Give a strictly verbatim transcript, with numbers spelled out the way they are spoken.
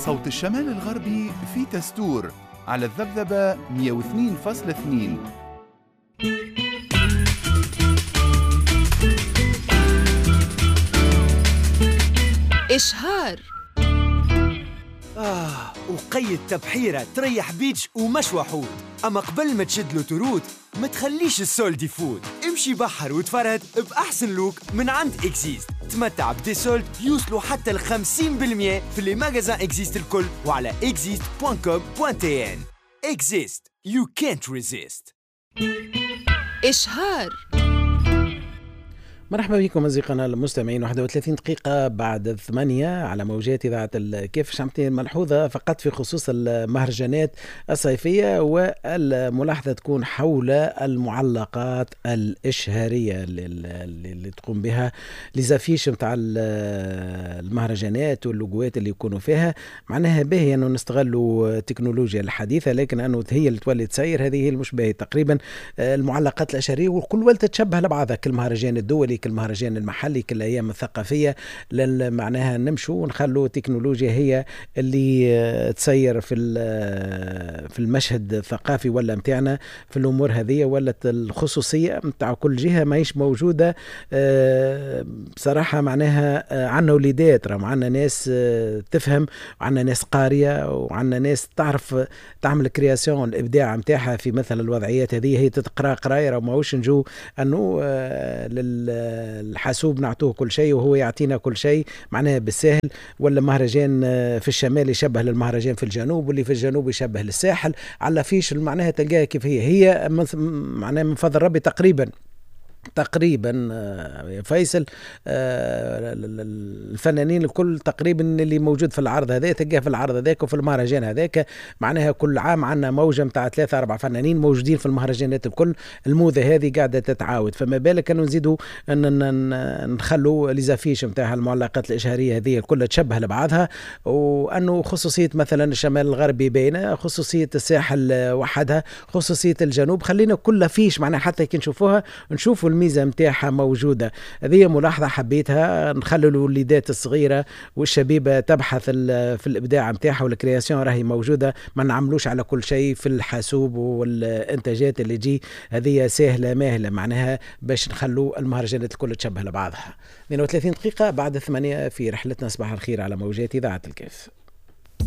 صوت الشمال الغربي في تستور على الذبذبة مئة واثنين فاصلة اثنين. إشهار. آه وقيد تبحيرة تريح beach ومشوى حوت، أما قبل ما تشد l'autoroute ما تخليش ال solde يفوت. امشي بحر وتفرهد بأحسن look من عند Exist. تمتع ب des soldes يوصلوا حتى ل خمسين بالمية في les magasins Exist الكل وعلى exist دوت كوم دوت تي إن. Exist, you can't resist. إشهار. مرحبا بكم أصدقائنا المستمعين، واحد وثلاثين دقيقة بعد الثمانية على موجات إذاعة الكيف. شمتين ملحوظة فقط في خصوص المهرجانات الصيفية، والملاحظة تكون حول المعلقات الإشهارية اللي, اللي تقوم بها les affiches متاع المهرجانات واللوجوات اللي يكونوا فيها. معناها باهي أنه نستغلوا التكنولوجيا الحديثة، لكن أنه هي اللي تولي تسير هذه هي المش باهي. تقريبا المعلقات الإشهارية وكل ولت تشبه لبعضها، كل مهرجان الدولي، كل المهرجان المحلي، كل الايام الثقافية، معناها نمشوا ونخلوا التكنولوجيا هي اللي تسير في في المشهد الثقافي ولا متاعنا في الامور هذه. ولا الخصوصية متاع كل جهة ماهيش موجودة بصراحة. معناها عندنا وليدات، راهم عندنا ناس تفهم، وعندنا ناس قارية، وعندنا ناس تعرف تعمل création الابداع متاعها في مثل الوضعيات هذه. هي تتقرا قرايه، راه ماهوش نجو انه لل الحاسوب نعطوه كل شيء وهو يعطينا كل شيء معناها بالسهل. ولا مهرجان في الشمال يشبه للمهرجان في الجنوب، واللي في الجنوب يشبه للساحل على فيش معناها تلقاها كيف هي هي معناها من فضل ربي تقريبا تقريبا يا فيصل الفنانين الكل تقريبا اللي موجود في العرض هذا تلقاه في العرض هذاك وفي المهرجان هذاك. معناها كل عام عندنا موجه نتاع ثلاثة أربعة فنانين موجودين في المهرجانات الكل. الموضة هذه قاعدة تتعاود، فما بالك انه نزيدوا ان نخلوا les affiches نتاع المعلقات الاشهاريه هذه الكل تشبه لبعضها، وانه خصوصية مثلا الشمال الغربي باينة، خصوصية الساحل وحدها، خصوصية الجنوب. خلينا كل affiche معناها حتى كي نشوفوها نشوفوا الميزة متاعها موجودة. هذه ملاحظة حبيتها، نخلوا الوليدات الصغيرة والشبيبة تبحث في الإبداع متاعها وال création راهي موجودة، ما نعملوش على كل شيء في الحاسوب والإنتاجات اللي تجي هذه سهلة ماهلة، معناها باش نخلوا المهرجانات الكل تشبه لبعضها. اثنين وثلاثين دقيقة بعد ثمانية في رحلتنا صباح الخير على موجات إذاعة الكيف.